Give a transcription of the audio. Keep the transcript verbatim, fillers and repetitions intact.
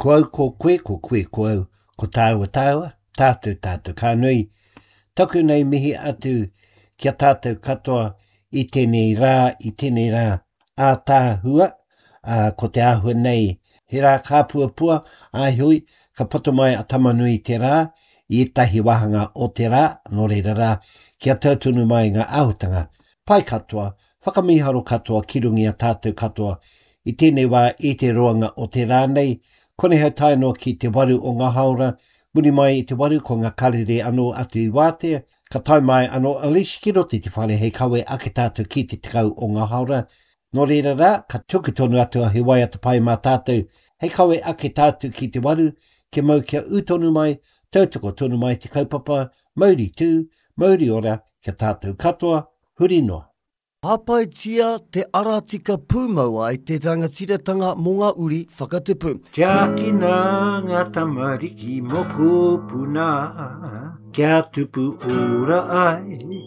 Ko au ko koe, ko koe ko au, ko tāua tāua, tātou tātou. Ka nui, taku nei mihi atu ki a tātou katoa i tēnei rā, i tēnei rā ātaahua, ā, ko te āhua nei, he rā kāpuapua, ā heoi, ka poto mai a Tamanui te rā, i ētahi wāhanga o te rā, nō reira rā, kia tau tonu mai ngā āhuatanga pai katoa, whakamīharo katoa ki runga i a tātou katoa i tēnei wā i te roanga o te rā nei, konei hau tae noa ki te waru o ngā haora, muri mai i te waru ko ngā karere anō atu i wātea, ka tae mai anō a Leash ki roto i te whare hei kawe ake tātou ki te tekau o ngā haora. Nō reira rā, ka tuku tonu atu a He Waiata Pai mā tātou hei kawe ake tātou ki te waru, kia mau kia ū tonu mai, tautoko tonu mai te kaupapa, mauri tū, mauri ora kia tātou katoa, huri noa. Hāpaitia te ara tika pūmau ai te rangatiratanga mō ngā uri whakatupu. Tiakina ngā tamariki mokopuna, kia tupu ora ai.